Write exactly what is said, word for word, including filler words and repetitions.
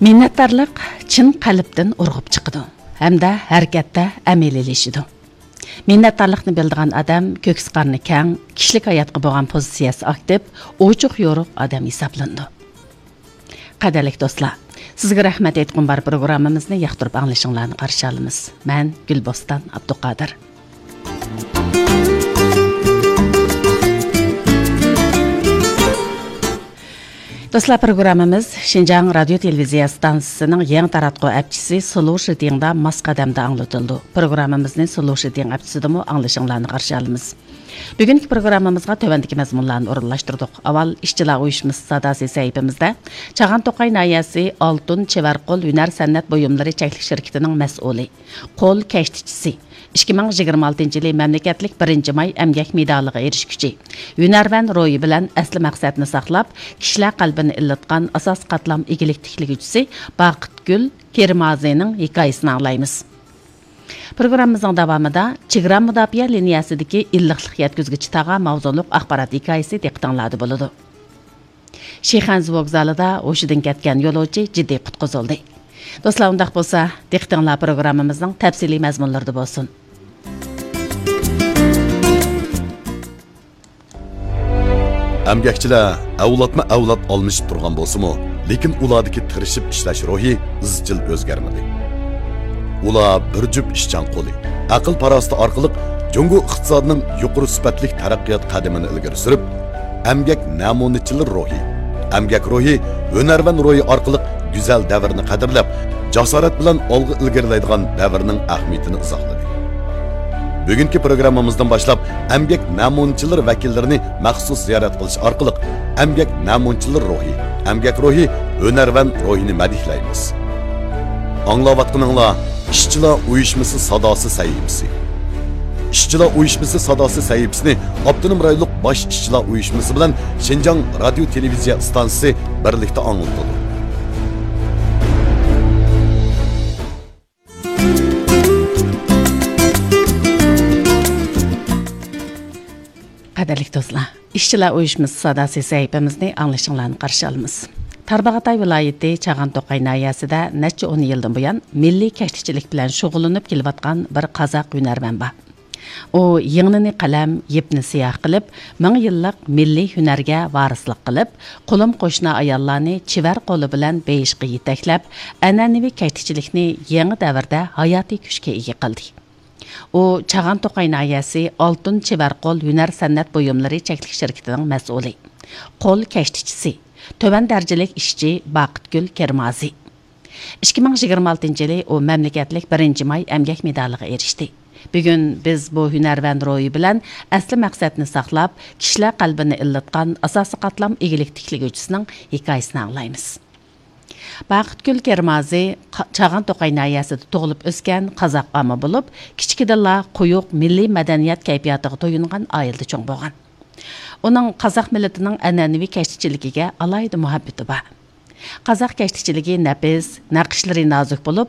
مىننەتدارلىق چىن قەلبتىن ئۇرغۇپ چىقىدۇ ھەمدە ھەرىكەتتە ئەمەلىيلىشىدۇ. مىننەتدارلىقنى بىلىدىغان ئادەم كۆكسى قارنى كەڭ، كىشىلىك ھاياتقا بولغان پوزىتسىيەسى ئاكتىپ، ئوچۇق يورۇق ئادەم ھېسابلىنىدۇ. قەدىرلىك دوستلار، سىزگە رەھمەت ئېيتقۇم بار پروگراممىمىزنى ياقتۇرۇپ ئاڭلىشىڭلارنى قارشى ئالىمىز. مەن گۈلبوستان ئابدۇقادىر. دوستلار، پروگراممىمىز شىنجاڭ رادىيو تېلېۋىزىيە ئىستانسىسىنىڭ يېڭى تاراتقۇ ئەپچىسى سلوشىتىڭدا ماس قەدەمدە ئاڭلىتىلىدۇ. پروگراممىمىزنى سلوشىتىڭ ئەپچىسىدىمۇ ئاڭلىشىڭلارنى قارشى ئالىمىز. بۈگۈنكى پروگراممىمىزغا تۆۋەندىكى مەزمۇنلارنى ئورۇنلاشتۇردۇق. ئاۋۋال ئىشچىلار ئۇيۇشمىسى ساداسى سەھىپىمىزدە چاغان توقاي ناھىيەسى ئالتۇن چېۋەر قول ھۈنەر سەنئەت بۇيۇملىرى چەكلىك شىركىتىنىڭ مەسئۇلى، قول كەشتىچىسى، ئىككى مىڭ يىگىرمە ئالتىنچى يىلى مەملىكەتلىك بىرىنچى ماي ئەمگەك مېدالىغا ئېرىشكۈچى، ھۈنەرۋەن روھى بىلەن ئەسلى مەقسەتنى ساقلاپ، كىشىلەر قەلبىنى ئىللىتقان ئاساسىي قاتلام ئىگىلىك تىكلىگۈچىسى باقىتگۈل كىرمازىنىڭ ھېكايىسىنى ئاڭلايمىز. پروگراممىمىزنىڭ داۋامىدا چېگرا مۇداپىئە لىنىيەسىدىكى ئىللىقلىق يەتكۈزگۈچى تاغا ماۋزۇلۇق ئاخبارات ھېكايىسى دىققىتىڭلاردا بولىدۇ. شىخەنزۇ ۋوگزالىدا ھوشىدىن كەتكەن يولۇچى جىددىي قۇتقۇزۇلدى. دوستلار، ئۇنداق بولسا، دىققىتىڭلار پروگراممىمىزنىڭ تەپسىلىي مەزمۇنلىرىدا بولسۇن. ئەمگەكچىلەر ئەۋلادمۇ ئەۋلاد ئالمىشىپ تۇرغان بولسىمۇ، لېكىن ئۇلاردىكى تىرىشىپ ئىشلەش روھى ئىزچىل ئۆزگەرمىدى. ئۇلار بىر جۈپ ئىشچان قولى، ئەقىل-پاراسىتى ئارقىلىق جۇڭگو ئىقتىسادىنىڭ يۇقىرى سۈپەتلىك تەرەققىيات قەدىمىنى ئىلگىرى سۈرۈپ، ئەمگەك نەمۇنىچىلىرى روھى، ئەمگەك روھى، ھۈنەرۋەن روھى ئارقىلىق گۈزەل دەۋرنى قەدىرلەپ، جاسارەت بىلەن ئالغا ئىلگىرىلەيدىغان دەۋرنىڭ ئەھمىيىتىنى ئىزاھلىدى. بۈگۈنكى پروگراممىمىزدىن باشلاپ، ئەمگەك نەمۇنىچىلىرى ۋەكىللىرىنى مەخسۇس زىيارەت قىلىش ئارقىلىق ئەمگەك نەمۇنىچىلىرى روھى، ئەمگەك روھى، ھۈنەرۋەن روھىنى مەدھىيلەيمىز. ئاڭلاۋاتقىنىڭلار ئىشچىلار ئۇيۇشمىسى ساداسى سەھىپىسى. ئىشچىلار ئۇيۇشمىسى ساداسى سەھىپىسىنى ئاپتونوم رايونلۇق باش ئىشچىلار ئۇيۇشمىسى بىلەن شىنجاڭ رادىيو تېلېۋىزىيە ئىستانسىسى بىرلىكتە ئاڭلىتىدۇ. قەدىرلىك دوستلار، ئىشچىلار ئۇيۇشمىسى ساداسى سەھىپىمىزنى ئاڭلىشىڭلارنى قارشى ئالىمىز. تارباغاتاي ۋىلايىتى چاغان توقاي ناھىيەسىدە نەچچە ئون يىلدىن بۇيان مىللىي كەشتىچىلىك بىلەن شۇغۇللىنىپ كېلىۋاتقان بىر قازاق ھۈنەرۋەن بار. ئۇ يىڭنىنى قەلەم، يىپنى سىياھ قىلىپ، مىڭ يىللىق مىللىي ھۈنەرگە ۋارىسلىق قىلىپ، قولۇم-قوشنا ئاياللارنى چېۋەر قولى بىلەن بېيىشقا يېتەكلەپ، ئەنئەنىۋى كەشتىچىلىكنى يېڭى دەۋردە ھاياتىي كۈچكە ئىگە قىلدى. ئۇ چاغان توقاي ناھىيەسى ئالتۇن چېۋەر قول ھۈنەر سەنئەت بۇيۇملىرى چەكلىك شىركىتىنىڭ مەسئۇلى، قول كەشتىچىسى، تۆۋەن دەرىجىلىك ئىشچى باقىتگۈل كىرمازى. ئىككى مىڭ يىگىرمە ئالتىنچى يىلى ئۇ مەملىكەتلىك بىرىنچى ماي ئەمگەك مېدالىغا ئېرىشتى. بۈگۈن بىز بۇ ھۈنەرۋەن روھى بىلەن ئەسلى مەقسەتنى ساقلاپ، كىشىلەر قەلبىنى ئىللىتقان ئاساسىي قاتلام ئىگىلىك تىكلىگۈچىسىنىڭ ھېكايىسىنى ئاڭلايمىز. باقىتگۈل كىرمازى قا-، چاغان توقاي ناھىيەسىدە تۇغۇلۇپ ئۆسكەن قازاق ئانا بولۇپ، كىچىكىدىنلا قويۇق مىللىي مەدەنىيەت كەيپىياتىغا تويۇنغان ئائىلىدە چوڭ بولغان. ئۇنىڭ قازاق مىللىتىنىڭ ئەنئەنىۋى كەشتىچىلىكىگە ئالاھىدە مۇھەببىتى بار. قازاق كەشتىچىلىكى نەپىس، نەقىشلىرى نازۇك بولۇپ،